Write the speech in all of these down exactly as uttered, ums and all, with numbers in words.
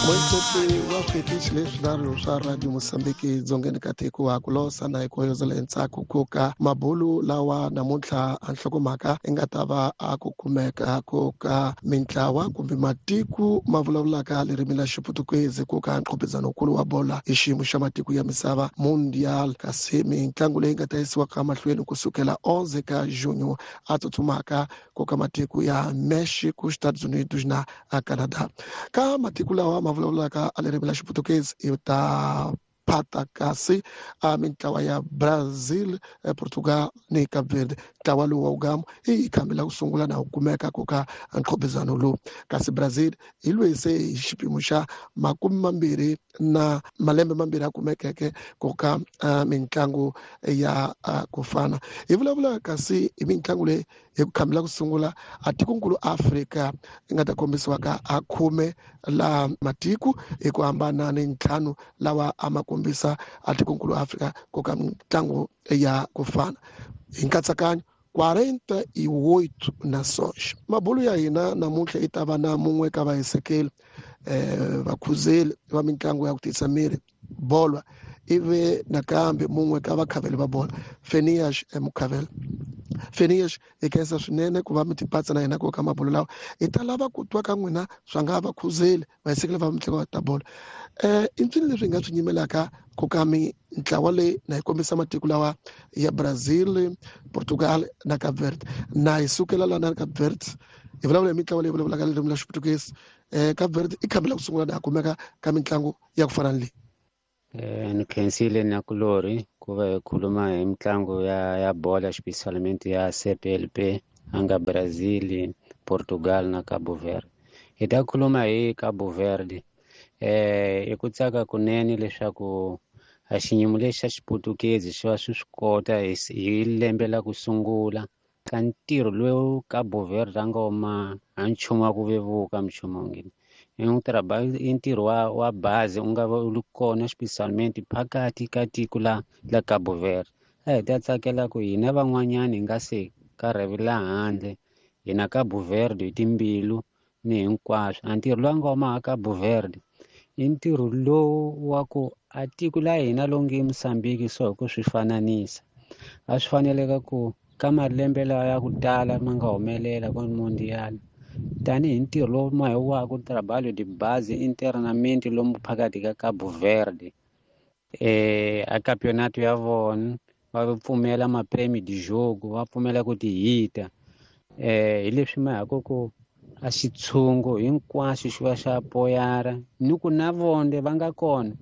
Moiteti wa switichi leswinharhu swa Radio Mosambiki dzongeni ka tiko wa ku losa na hi ku hoyozela endzhaku ku ka mabulu lawa namuntlha a nhlokomhaka i nga ta va a ku kumeka ku ka mintlawa kumbe matiko ma vulavulaka ririmi la Xiputukezi ku ka nqhopizanokulu wa bola hi xiyimo xa matiko ya misava Mundial, kasi mitlangu leyi nga ta yisiwaka mahlweni kusukela onze ka junho a tsutsumaka ku ka matiko ya Mexico, Estados Unidos na Canada. Ka matiko lawa ma vulavulaka a ririmi la Xiputukezi i ta phata kasi a mintlawa ya Brazil, Portugal ni Cape Verde. Ntlawa lowu wa wugamu i khambi la ku sungula na ku kumeka ku ka nqhopizano lowu, kasi Brazil hi lweyi se hi xipimo xa makume mambirhi na malembe mambirhi a kumekeke ku ka mitlangu ya ku fana. Hi vulavula kasi hi mitlangu leyi hi ku khambela ku sungula a tikonkulu Afrika yi nga ta kombisiwa ka a khume la matiko hi ku hambana ni ntlhanu lawa a ma kombisa a tikonkulu Afrika ku ka mitlangu ya ku fana. Hi nkatsakanyo quarenta e oito nações. Mabulu ya hina namuntlha yi ta va na mun'we ka vahisekeli eh vakhuzeli va mitlangu ya ku tiyisa miri bolwa, ivi nakambe mun'we ka vakhaveli va bola Fenias Mukhavela. Fenias, hi khensa swinene ku va mi tipatsa na hina ku ka mabulu lawa. Hi ta lava ku twa ka n'wina swa nga vakhuzeli vahisekeli va mitlangu ta bola. Eh i ncini leswi hi nga swi nyimelaka ku ka mintlawa leyi na hi kombisa matiko lawa ya Brazil, Portugal na Cape Verde. Na hi sukela la na Cape Verde hi vulavula hi mitlawa leyi vulavulaka ririmi la Xiputukezi. Eh Cape Verde i khambela ku sungula na kumeka ka mitlangu ya ku fana ni leyi. Eh ni khensile na kulori ku va hi khuluma hi mitlangu ya ya bola especialmente ya C P L P anga Brazil, Portugal na Cabo Verde. Hi ta khuluma hi Cabo Verde. Eh i ku tsaka kunene leswaku a xiyimo lexi xa Xiputukezi xi va swi swi kota hi lembe la ku sungula ka ntirho lowu Cabo Verde a nga wuma a nchumu wa ku vevuka mchumu ngini. I ntirho ntirho wa wa bazi u nga va u ri kona especialmente phakathi ka tiko la la Cabo Verde. A hi ta tsakela ku hina van'wanyani hi nga se ka rhevela handle hina Cabo Verde hi timbilu ni hinkwaswo. A ntirho lowu nga wuma Cabo Verde i ntirho lowu wa ku a tiko la hina lowu nge Mozambique so hi ku swi fananisa a swi faneleka ku ka malembe lawa ya ku tala ma nga humelela ka Mundial tanihi ntirho lowu ma hi wa ku trabalho de base internamente lomu phakathi ka Cabo Verde. Eh a campeonato ya vona va pfumela ma prêmio de jogo, va pfumela ku tihita. Eh hi leswi ma ha ku ku a xitshungu hinkwaswo xi va xa poyara ni ku na vonde va nga kona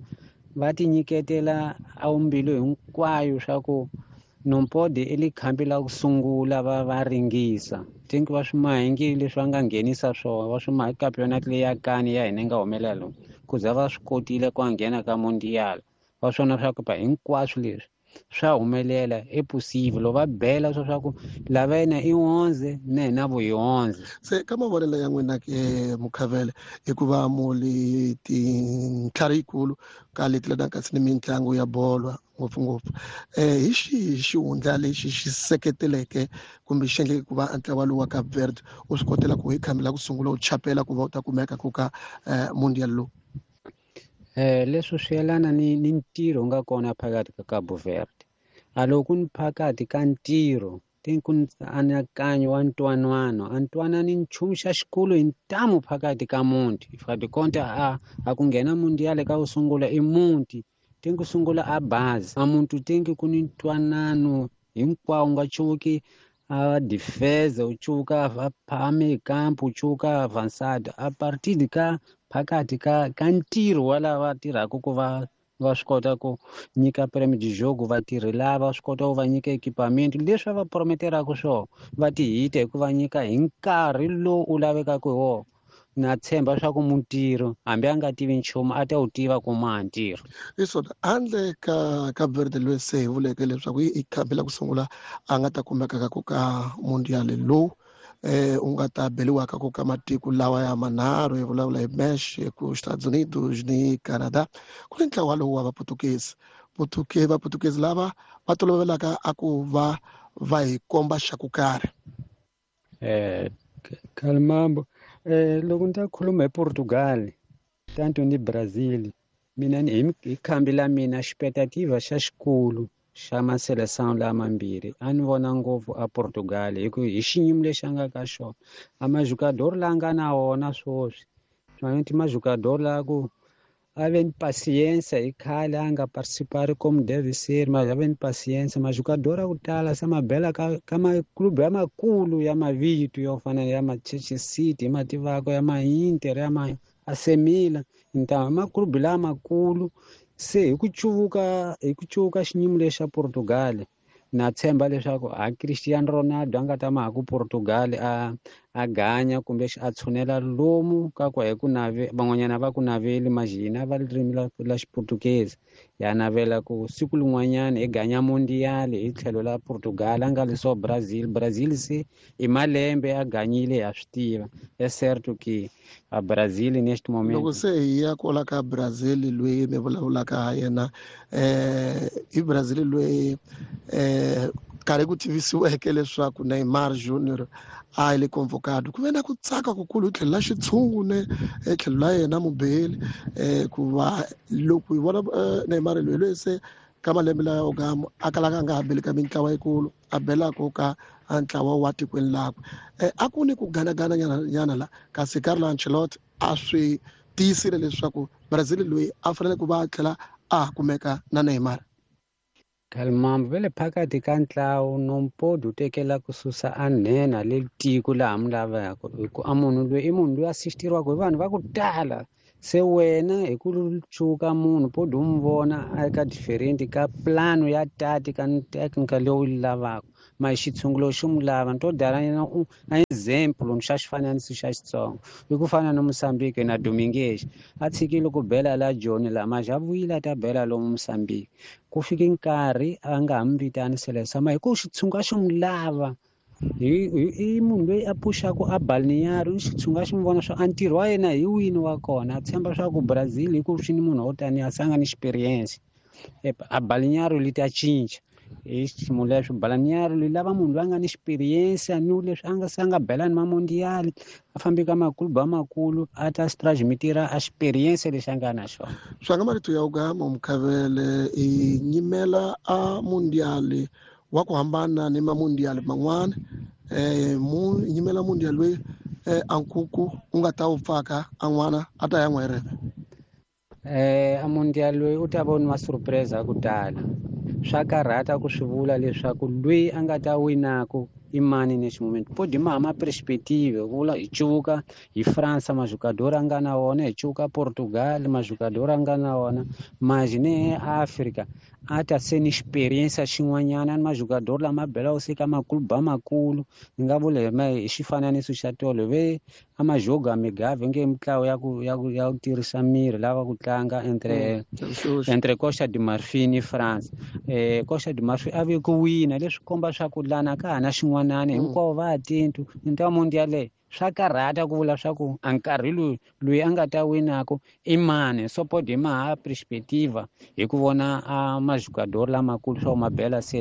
va ti nyiketela a mbilu hinkwayo swa ku non pode ele khambi la ku sungula va va ringisa. Think va swi mahingile leswi va nga nghenisa swona va swi mahi campeonato leyi ya kani ya hina yi nga humelela lomu ku za va swi kotile ku nghena ka Mundial. Va swona swa ku hinkwaswo leswi swa humelela i possible loko va bela swa swa ku lava yena i onze na hina vo hi onze. Se ka mavonelo ya n'wina ke Mukhavele, hikuva muli tintlhari yikulu ka leti leti kasi ni mitlangu ya bolo ngopfungopfu, eh hi xihi xihundla lexi xi seketeleke kumbe xi endleke ku va ntlawa lowu wa Cape Verde u swi kotela ku hi khambela ku sungula u chapela ku va u ta kumeka ku ka Mundial lowu? Eh leswi swi yelana ni ni ntirho nga kona phakathi ka Cabo Verde. A loko ni phakathi ka ntirho ti ku anakanyo wa ntwanano, a ntwanani nchumu xa xikulu hi ntamu phakathi ka muti. If a konta a a ku nghena Mundial ka ku sungula i muti, ti ku sungula a bazi. A muntu ti ku ni ntwanano hinkwawo nga chuki a defense u chuka a phame campo u chuka avançado a partir de ka phakathi ka ka ntirho wa lava tirhaka ku va va swi kota ku nyika prêmio de jogo vatirhi lava swi kota ku va nyika equipamento leswi va prometeraka swona va tihita hi ku va nyika hi nkarhi lowu u lavekaka hi wona. Na tshemba swa ku mutirhi hambi a nga tivi nchumu a ta wu tiva ku ma ntirho. Hi swona handle ka Cape Verde loyi se hi vuleke leswaku i khambi la ku sungula a nga ta kumeka ka ku ka Mundial lowu eh u nga ta beliwaka ku ka matiko lawa ya manharhu, hi vulavula hi Mexico, Estados Unidos ni Canada. Ku ni ntlawa lowu wa Vaputukezi. Putuke Vaputukezi lava va tolovelaka a ku va va hi komba xa ku karhi. Eh Kalmambo, eh loko ni ta khuluma hi Portugal Tanto ni Brazil mina ni hi khambi la mina expectativa xa xikulu xa maseleção lamambirhi a ni vona ngopfu a Portugal hi ku hi xiyimo lexi a nga ka xona a majogador la nga na wona swoswi swona majogador la ku a ve ni paciência hi khale a nga participar como deve ser, mas a ve ni paciência majogador a ku tala se mabela ka ka maklube ya makulu ya mavito yo fana ya Manchester City ma tivaka ya ma Inter ya ma A C Milan então maklube lamakulu se hi ku cuvuka hi ku cuvuka xiyimo lexa Portugal na tshemba leswaku a Cristiano Ronaldo a nga ta ma ha ku Portugal a a ganya kumbe a tshunela lomu ka ku hi ku nave van'wanyana va ku naveli majina va ririmi la la Xiportuguese ya navela ku siku lin'wanyana hi ganya mundial hi tlhelo la Portugal a nga leswo Brazil Brazil se i malembe a ganyile ya swi tiva é certo que a Brazil neste momento loko se hi ya kwala ka Brazil loyi mi vulavulaka ha yena eh i Brazil loyi eh karhi ku tivisiweke leswaku Neymar Junior a le convocado ku ve na ku tsaka kukulu hi tlhelo la xitshungu ne tlhelo la yena mubeli eh ku va loko hi vona Neymar loyi loyi se ka malembe lawa yo gama a kalaka a nga ha beli ka mintlawa yikulu a belaka ka a ntlawa wa tikweni lakwe a ku ni ku ganagana nyana nyana la kasi Carlo Ancelotti a swi tiyisile leswaku Brazil loyi a fanele ku va a tlhela a kumeka na Neymar. Kalmambo ve le phakathi ka ntlawa no pode u tekela ku susa a nhenha le tiko laha mi lavaka hi ku a munhu loyi i munhu loyi a assistiriwaka hi vanhu va ku tala se wena hi ku cuka munhu pode u n'wi vona a ka different ka plano ya tati ka technical leyi u yi lavaka ma xitshungulo xi n'wi lava ni to dala na na example xa xifananiso xa Xitsonga i ku fana na Mozambique na Dominguez a tshikile ku bela la Joni la maja vuyile a ta bela lomu Mozambique ku fike nkarhi a nga ha mi vitani seleção ma hi ku xitshungu a xi n'wi lava hi i munhu loyi a puxaka a balneário xitshungu a xi n'wi vona swa a ntirho wa yena hi wini wa kona a tshemba swa ku Brazil hi ku swi ni munhu wo taniya a sanga ni experience a balneário li ta cinca hi xiyimo lexo balneário li lava munhu loyi a nga ni experience ni leswi a nga se a nga bela ni ma mundial a fambi ka maklubu amakulu a ta transmitira a experience lexi a nga na xona. Swa nga marito ya ugama Mkhavele i nyimela a mundial wa ku hambana ni ma mundial man'wana eh mu nyimela mundial loyi eh ankuku u nga ta wu pfaka an'wana a ta ya n'wa reve eh a mundial loyi u ta vona ma surprise ku tala swa karhata ku swi vula leswaku loyi a nga ta winaku i mani nexi moment pode ma hama perspective vula hi cuvuka hi France majogador a nga na wona hi cuvuka Portugal majogador a nga na wona mas ne Africa a ta se ni experience xin'wanyana ni majogador lama belaka se ka maklubu amakulu ni nga vula hi xifananiso xa tolo ve a majogo amigave nge mitlawa ya ku ya ku ya ku tirhisa miri lava ku tlanga entre entre Costa de Marfil ni France eh Costa de Marfil a ve ku wina leswi komba swa ku lana ka ha na xin'wanani hinkwavo va tintu nta mundial swa karhata ku vula swa ku a nkarhi loyi loyi a nga ta winaka i mani so pode ma ha perspectiva hi ku vona a majogador lamakulu swa ku mabela se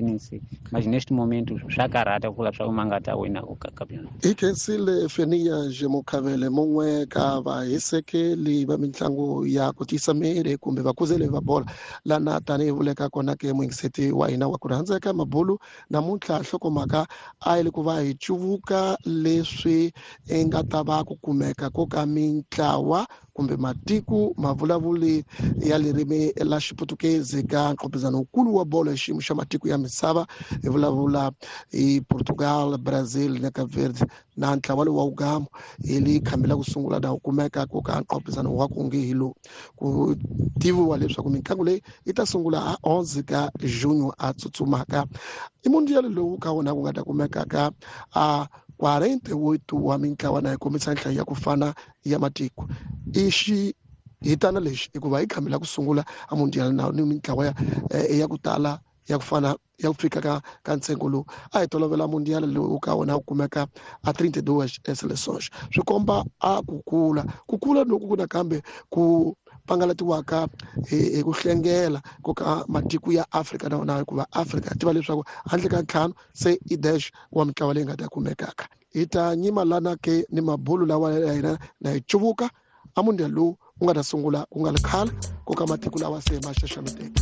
mas neste momento swa karhata ku vula swa ku ma nga ta winaka ka campeonato. Hi khensile Fenia Mukhavele mun'we ka vahisekeli va mitlangu ya ku tiyisa miri kumbe vakuzeli va bola lana tanihi vuleka kona ke muyingiseti wa hina wa ku rhandzeka mabulu namuntlha nhlokomhaka a yi le ku va hi cuvuka leswi i nga ta va ku kumeka ko ka mintlawa kumbe matiko mavulavuli ya ririmi la Xiputukezi ka nqopizano wukulu wa bolo hi xiyimo xa matiko ya misava hi vulavula hi Portugal, Brazil na Cape Verde na ntlawa lowu wa ugamo hi li khambi la ku sungula na wu kumeka ko ka nqopizano wa ku nge hi lowu ku tiviwa leswaku mitlangu leyi yi ta sungula a onze ka junho a tsutsumaka i mundial lowu ka wona ku nga ta kumeka ka a quarenta e oito wa mintlawa na yi kombisa nhlayo ya ku fana ya matiko i xi hitana lexi hikuva hi khambi la ku sungula a mundial na ni mintlawa ya ya ku tala ya ku fana ya ku fika ka ka ntsengo lowu a hi tolovela mundial lowu ka wona wu kumeka a trinta e duas seleções swi komba a ku kula ku kula loku ku nakambe ku pangalatiwaka hi ku hlengela ko ka matiko ya Afrika na wona hikuva Afrika tiva leswaku handle ka ntlhanu se i dash wa mintlawa leyi nga ta kumekaka hi ta nyima lana ke ni mabulu lawa ya hina na hi cuvuka a mundial lowu wu nga ta sungula ku nga ri khale ku ka matiko lawa se ma xaxameteke.